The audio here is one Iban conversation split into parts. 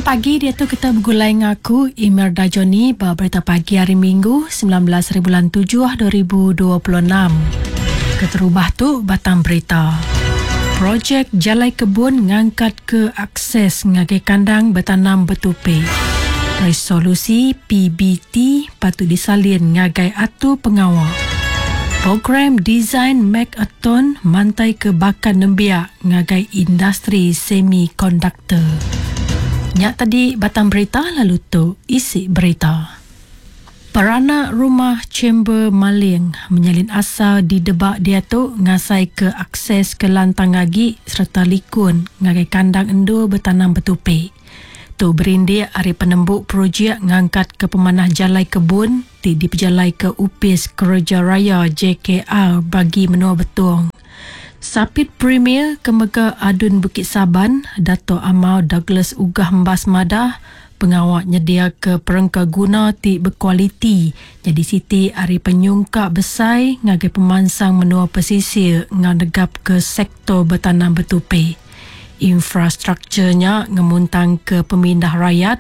pagi diatu kita begulai ngaku Imelda Johnny ba berita pagi hari Minggu 19 hari bulan 7 2026. Keterubah tu batang berita. Projek Jalai Kebun ngangkat ke akses ngagai kandang betanam betupi. Resolusi PBT patut disalin ngagai atur pengawa. Program Design Make-a-Thon mantai ke bakat nembiak ngagai industri semikonduktor. Nya tadi batang berita lalu tu isi berita. Peranak rumah Chamber Maling menyalin asal di Debak diatu ngasai ke akses ke lantang agi sereta likun ngagai kandang endur betanam betupi. Tu berindik ari penembu projek ngangkatka pemanah jalai kebun ti dipejalaika Opis Kereja Raya JKR Bagi Menua Betong. Sapit Premier ke mega ADUN Bukit Saban, Datuk Amar Douglas Uggah Embas madah, pengawa nyediaka perengka guna ti bekualiti nyadi siti ari penyungkak besai ngagai pemansang menua pesisir enggau negapka sektor betanam betupi. Infrastruktur nya ngemuntangka pemindah rayat,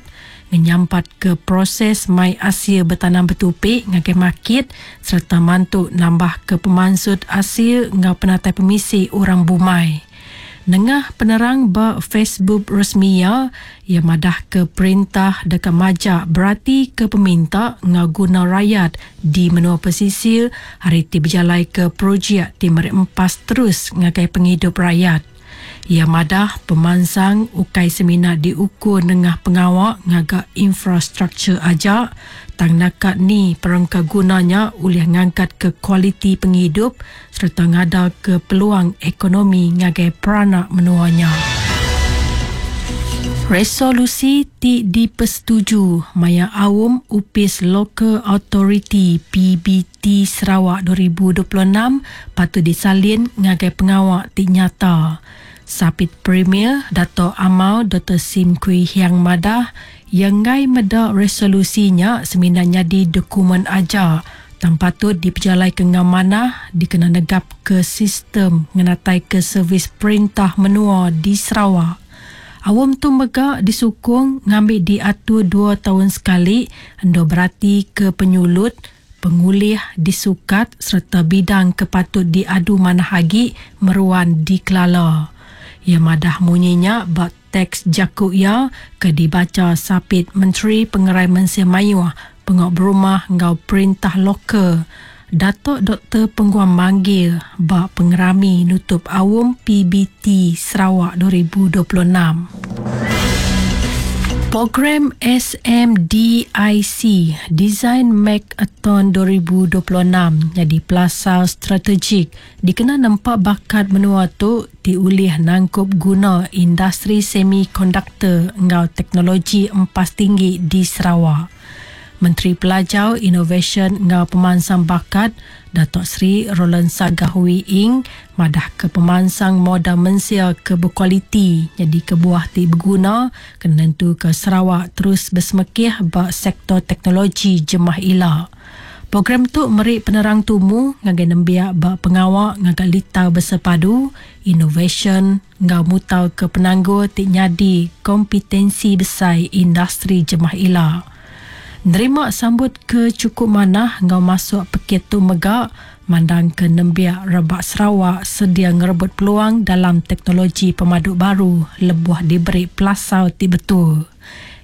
ngenyampatka proses mai asil betanam betupi ngagai makit sereta mantu nambahka pemansut asil enggau penatai pemisi orang bumai. Nengah penerang ba Facebook resmi iya, iya madahka perintah deka majak beratika peminta enggau guna rayat di menua pesisir ari ti bejalaika projek ti meri empas terus ngagai pengidup rayat. Iya madah pemansang ukai semina diukur nengah pengawa ngaga infrastruktur aja tang naka ni perengka guna nya ulih ngangkatka kualiti pengidup sereta ngadaka peluang ekonomi ngagai peranak menua nya. Resolusi ti dipesetuju maya aum Opis Local Authority PBT Sarawak 2026 patut disalin ngagai pengawa ti nyata. Sapit Premier Datuk Amar Doktor Sim Kui Hiang madah, iya enggai meda resolusi nya semina nyadi dokumen aja tang patut dipejalaika enggau manah dikena negapka sistem ngenataika servis perintah menua di Sarawak. Aum tu mega disukung ngambi diatur dua taun sekali endur beratika penyulut, pengulih disukat sereta bidang ke patut diadu manah agi meruan dikelala. Iya madah munyi nya ba teks jaku iya ke dibacha Sapit Menteri Pengerai Mensia Mayuh, Pengawa Berumah enggau Perintah Lokal, Datuk Doktor Penguang Manggil ba pengerami nutup Aum PBT Sarawak 2026. Program SMDIC Design Make-a-Thon 2026 nyadi pelasar strategik dikena nempa bakat menua tu ti ulih nangkup guna industri semikonduktor enggau teknologi empas tinggi di Sarawak. Menteri Pelajar, Inovasyen enggau Pemansang Bakat, Datuk Seri Roland Sagah Wee Ing madahka pemansang modal mensia ke bekualiti nyadi kebuah ti beguna kena nentuka Sarawak terus besemekih ba sektor teknologi jemah ila. Program tu meri penerang tumu ngagai nembiak ba pengawa ngaga litar bersepadu, inovasyen enggau mutarka penanggul ti nyadi kompetensi besai industri jemah ila. Nerima sambut ke chukup manah enggau masuk pekit tu mega mandangka nembiak rebak Sarawak sedia ngerebut peluang dalam teknologi pemadu baru lebuh diberi pelasar ti betul.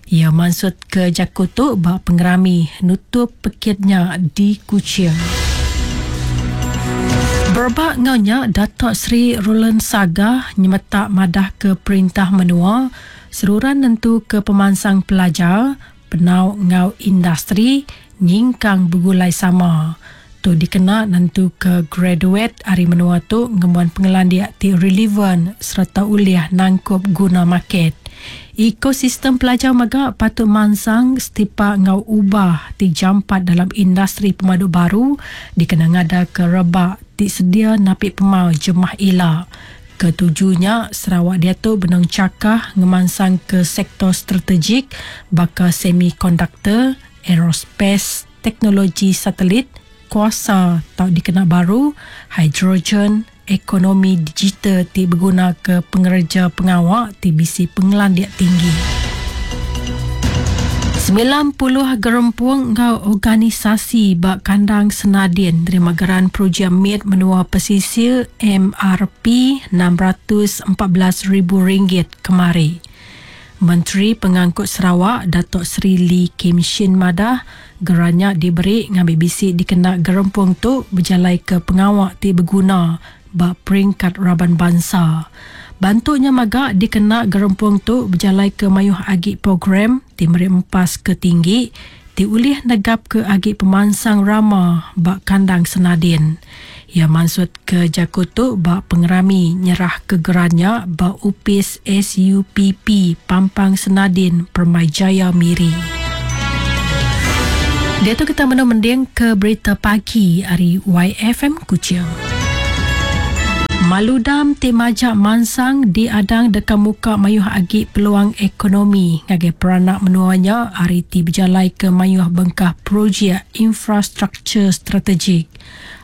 Iya mansutka jaku tu ba pengerami nutup pekit nya di Kuching. Berebak enggau nya, Datuk Seri Roland Sagah nyemetak madahka perintah menua seruran nentuka pemansang pelajar, penau enggau industri nyingkang begulai sama. Tu dikena nentuka graduet ari menua tu ngembuan pengelandik ti relevan sereta ulih nangkup guna market. Ekosistem pelajar mega patut mansang setipak enggau ubah ti jampat dalam industri pemadu baru dikena ngadaka rebak ti sedia napi pemau jemah ila. Ke tuju nya, Sarawak diatu benung chakah ngemansangka sektor strategik baka semikonduktor, aerospace, teknologi satelit, kuasa tau dikena baru, hidrogen, ekonomi digital ti begunaka pengereja pengawa ti bisi pengelandik tinggi. 90 gerempung enggau organisasi ba kandang Senadin nerima geran Projek Mit Menua Pesisir MRP 614 ribu ringgit kemari. Menteri Pengangkut Sarawak Datuk Seri Lee Kim Shin madah, geran nya diberi ngambi bisi dikena gerempung tu bejalaika pengawa ti beguna ba peringkat raban bansa. Bantu nya mega dikena gerempung tu bejalaika mayuh agi program ti meri empas ke tinggi ti ulih negapka agi pemansang rama ba kandang Senadin. Iya mansutka jaku tu ba pengerami nyerahka geran nya ba Opis SUPP Pampang Senadin Permyjaya Miri. Diatu kita menu mendingka berita pagi ari YFM Kuching. Maludam ti majak mansang diadang deka muka mayuh agi peluang ekonomi ngagai peranak menua nya ari ti bejalaika mayuh bengkah projek infrastruktur strategik.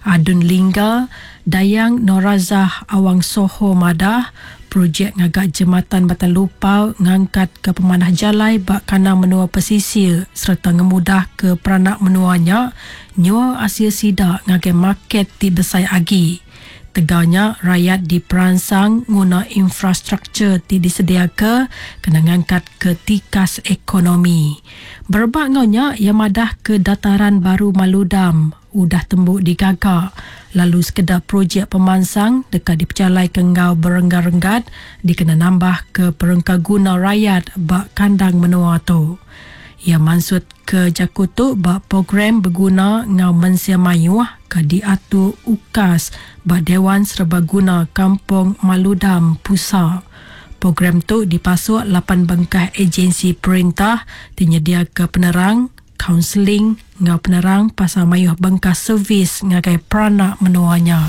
Adun Lingga, Dayang Norazah Awang Soho madah, projek ngaga Jematan Batang Lupar ngangkatka pemanah jalai ba kandang menua pesisir sereta ngemudahka peranak menua nya nyual asil sida ngagai market ti besai agi. Tegal nya, rayat diperansang nguna infrastruktur ti disediaka kena ngangkatka tikas ekonomi. Berebak enggau nya, iya madahka Dataran Baru Maludam udah tembu digaga lalu sekeda projek pemansang deka dipejalaika enggau berenggat-renggat dikena nambahka perengkaguna rayat ba kandang menua tu. Iya mansutka jaku tu ba program beguna enggau mensia mayuh ke diatur UKAS ba Dewan Serbaguna Kampung Maludam, Pusa. Program tu dipasuk lapan bengkah ejensi perintah ti nyediaka penerang, kaunseling enggau penerang pasal mayuh bengkah servis ngagai peranak menua nya.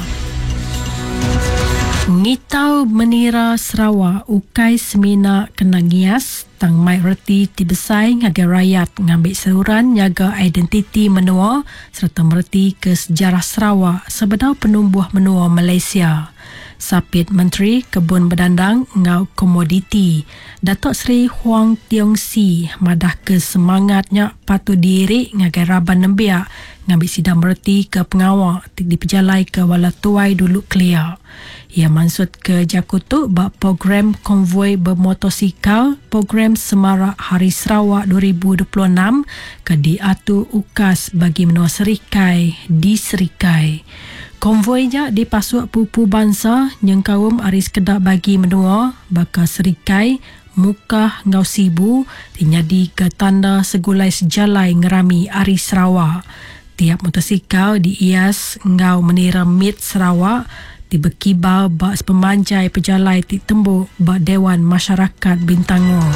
Ngitau menira Sarawak ukai semina kena ngias tang mai reti ti besai ngagai rayat ngambi seruran nyaga identiti menua sereta mereti ke sejarah Sarawak sebedau penumbuh menua Malaysia. Sapit Menteri Kebun Bedandang enggau Komoditi, Datuk Seri Huang Tiong Sii madahka semangat nya patut diiri ngagai raban nembiak ngambi sida meretika pengawa ti dipejalaika bala tuai dulu kelia. Iya mansutka jaku tu ba Program Konvoi Bemotosikal Program Semarak Hari Sarawak 2026 ke diatur UKAS Bagi Menua Serikai di Serikai. Konvoi nya dipasuk pupu bansa nyengkaum ari sekeda bagi menua baka Serikai, Mukah enggau Sibu ti nyadika tanda segulai sejalai ngerami Hari Sarawak. Tiap motosikal diias enggau menira mit Sarawak ti bekibar ba sepemanjai pejalai ti tembu ba Dewan Masyarakat Bintangor.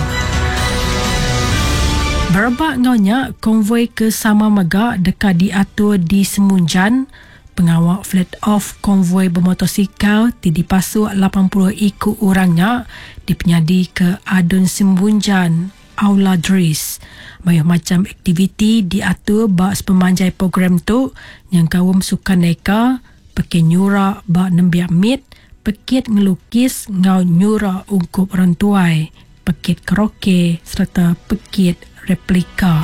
Berebak enggau nya, konvoi ke sama mega deka diatur di Semunjan. Pengawa flat off konvoi bemotosikal ti dipasuk 80 iku orang nya dipenyadika Adun Simbunjan, Aula Dris. Mayuh macham aktiviti diatur ba sepemanjai program tu nyengkaum sukan neka, pekit nyura ba nembiak mit, pekit ngelukis enggau nyura ungkup orang tuai, pekit karaoke sereta pekit replika.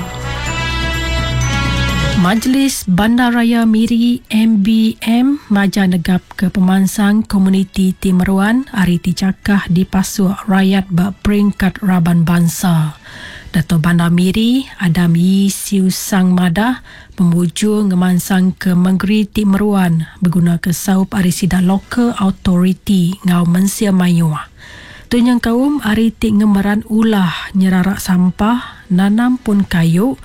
Majlis Bandaraya Miri, MBM, majar negapka pemansang komuniti ti meruan ari ti chakah dipasuk rayat ba peringkat raban bansa. Dato Bandar Miri, Adam Yii Siew Sang madah, pemujur ngemansangka mengeri ti meruan begunaka saup ari sida local authority enggau mensia mayuh. Tu nyengkaum ari ti ngemeran ulah nyerarak sampah, nanam pun kayu,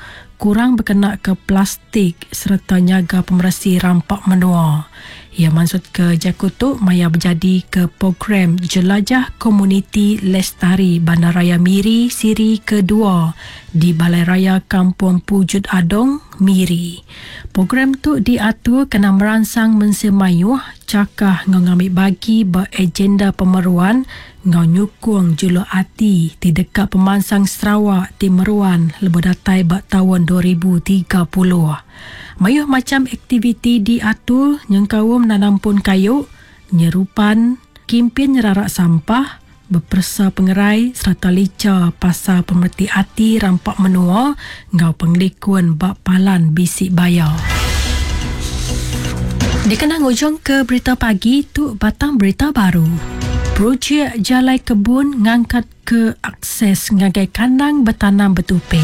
kurang bekenaka plastik sereta nyaga pemeresi rampa menua. Iya mansutka jaku tu maya bejadika Program Jelajah Komuniti Lestari Bandaraya Miri Siri Kedua di Balai Raya Kampung Pujut Adong, Miri. Program tu diatur kena meransang mensia mayuh chakah enggau ngambi bagi ba agenda pemeruan enggau nyukung juluk ati ti deka pemansang Sarawak ti meruan lebuh datai ba taun 2030. Mayuh macham aktiviti diatur nyengkaum nanam pun kayu, nyerupan, kimpin nyerarak sampah, beperesa pengerai sereta licha pasal pemereti ati rampa menua enggau pengelikun ba palan bisi baya. Dikena ngujungka berita pagi tu batang berita baru. Projek Jalai Kebun ngangkatka akses ngagai kandang betanam betupi.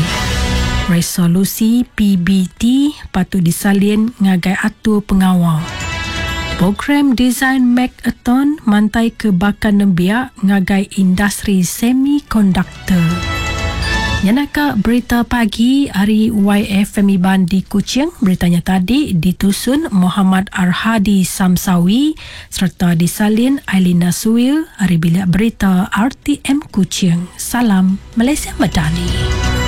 Resolusi PBT patut disalin ngagai atur pengawa. Program Design Make-a-thon mantaika baka nembiak ngagai industri semikonduktor. Nyenaka berita pagi ari YFM Iban di Kuching. Berita nya tadi ditusun Mohamad Arhadi Samsawi sereta disalin Ailina Suil ari Bilik Berita RTM Kuching. Salam Malaysia Madani.